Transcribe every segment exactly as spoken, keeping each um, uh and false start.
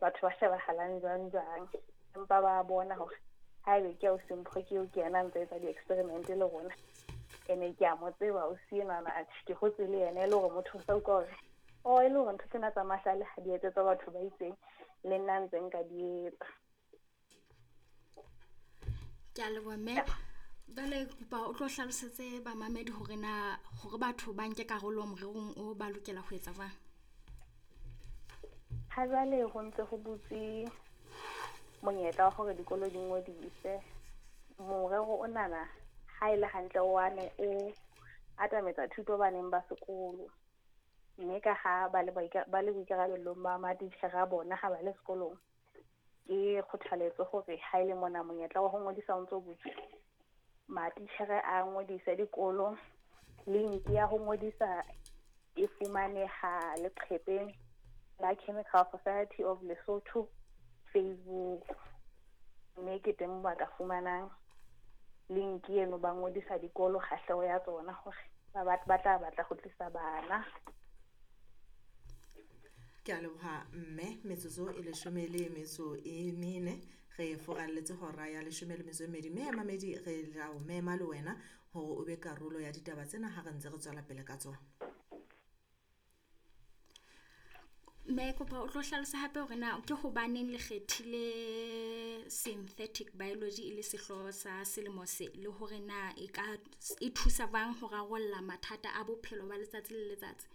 Batho ba shebahalang jwang jwang. Empa ba bona hore haebe ke ausi Mpho ke eo ke yena a ntse etsa di-experiment le rona. Ene ke a mo tseba ausi enwana, atjhe ke hotse le yena, e le hore motho o sa utlwa hore oh e le hore ntho tsena tsa mahlale ha di etsetswa batho ba itseng, le nna ntse nka di etsa. Ke a leboha mme. Jwale ke kopa o tlo hlalosetse bamamedi hore na hore batho ba nke karolo morerong o ba lokela ho etsa jwang. Ha jwale ho ntse ho butse monyetla wa hore dikolo di ngodise. Morero onana ha ele hantle wa ne o atametsa thuto baneng ba sekolo. Mme ka ha ba le ba le boikarabellong ba matitjhere a bona ha ba le sekolong, ke kgothaletso hore ha ele mona monyetla wa ho ngodisa o ntso butswe, matitjhere a ngodise dikolo. Link ya ho ngodisa e fumaneha leqhepeng la Chemical Society of Lesotho Facebook. Mme ke teng ba ka fumanang link eno, ba ngodisa dikolo kgahleho ya tsona hore ba ba tla batla ho tlisa bana. Ke a leboha mme, metsotso e leshome le metso e mene re foralletse hora ya leshome le metso e mmedi. Mme mamedi re la o mema le wena hore o be karolo ya ditaba tsena ha re ntse re tswela pele ka tsona. Mme kopa o tlo hlalosa hape hore na ke hobaneng le kgethile synthetic biology e le sehlooho sa selemo se, le hore na e ka e thusa jwang ho rarolla mathata a bophelo ba letsatsi le letsatsi.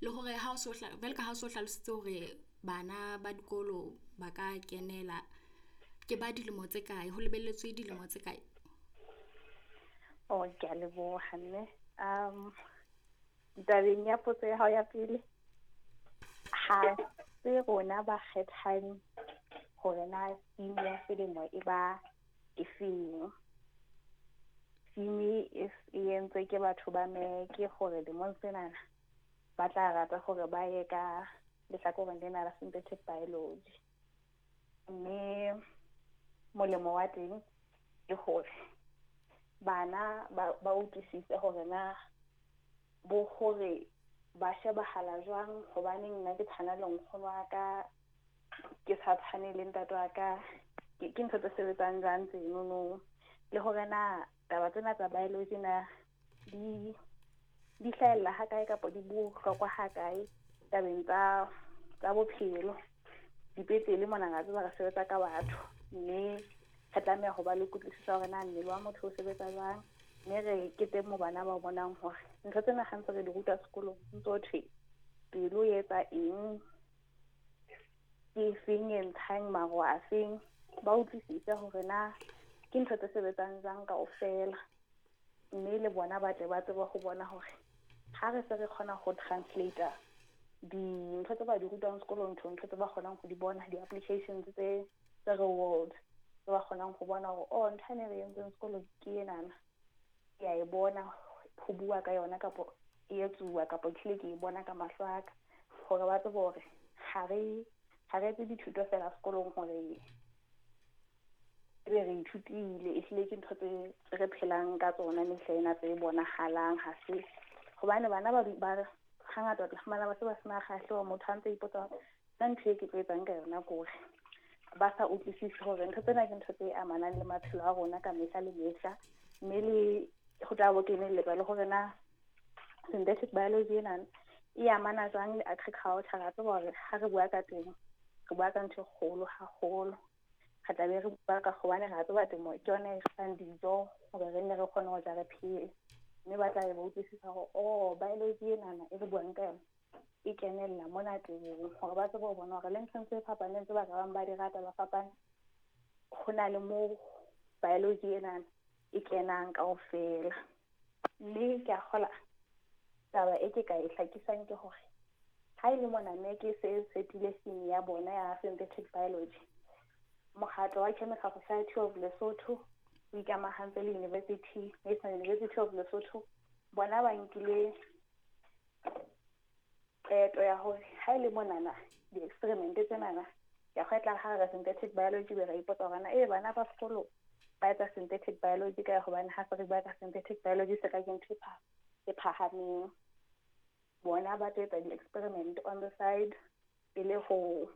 Le hore ha o so jwalo ka ha o so hlalositse hore bana ba dikolo ba ka kenela, ke ba dilemo tse kae, ho lebelletswe dilemo tse kae? Oh, ke a leboha mme. Um tabeng ya potso ya hao ya pele, ha se rona ba kgethang hore na theme ya selemo e ba efeng. Theme e e entswe ke batho ba MEC hore lemong senana ba tla rata hore ba ye ka lehlakoreng lena la synthetic biology. Mme molemo wa teng ke hore bana ba ba utlwisise hore na bo hore ba shebahala jwang, hobaneng nna ke tshwana le nkgono wa ka, ke sa tshwane le ntate wa ka, ke ntho tse sebetsang jwang tsenono. Le hore na taba tsena tsa biology na di di hlahella ha kae kapa di bohlokwa ha kae tabeng tsa tsa bophelo. Dipetlele mona ra tseba re sebetsa ka batho, mme re tlameha ho ba le kutlwisiso hore na mmele wa motho o sebetsa jwang. Mme re ke teng moo bana ba bonang hore ntho tsena ha ntse re di ruta sekolong, ntso thwe pelo e etsa eng, ke efeng e ntshang maro a feng, ba utlwisise hore na ke ntho tse sebetsang jwang kaofela. Mme le bona ba tle ba tsebe ho bona hore ha re se re kgona ho translate dintho tse ba di rutwang sekolong, ntho ntho tse ba kgonang ho di bona, di-applications tse tse real world, tse ba kgonang ho bona hore oh ntho ene re entseng sekolong ke enana, ke a e bona ho bua ka yona kapo e etsuwa kapo ke hlile ke e bona ka mahlo a ka, hore ba tsebe hore ha re ha re etse dithuto feela sekolong hore ebe re ithutile, ehlile ke ntho tse re phelang ka tsona mehla ena tse bonahalang. Ha se hobane bana ba ba hangata o tla fumana ba se ba sena kgahleho, motho a ntse ipotsa nna ntho e ke tlo etsang ka yona ke hore ba sa utlwisise hore ntho tsena ke ntho tse amanang le maphelo a rona ka mehla le mehla. Mme le ho tla bo kenelletsa le hore na synthetic biology ena e amana jwang le agriculture. Ra tseba hore ha re bua ka temo, re bua ka ntho e kgolo haholo. Re tla be re bua ka hobane ra tseba temo ke yona e fang dijo hore re nne re kgone ho ja re phele. Mme ba tla be ba utlwisisa hore oh biology enana e re buang ka yona e kenella mona temong, hore ba tsebe ho bona hore le nthong tse fapaneng tse ba ka bang ba di rata ba fapane, ho na le moo biology enana e kenang kaofela. Mme ke a kgola taba e ke ka e hlakisang ke hore ha e le mona mme ke se setile theme ya bona ya synthetic biology, mokgatlo wa Chemical Society of Lesotho o ikamahantse le University, National University of Lesotho. Bona ba nkile qeto ya hore ha e le monana di-experiment tsenana, ya kgwetla ha re synthetic biology be ra ipotsa hore na e bana ba sekolo ba etsa synthetic biology ka hobane ha se re bua ka synthetic biology se ka ke ntho e phahameng. Bona ba tlo etsa di-experiment on the side e le ho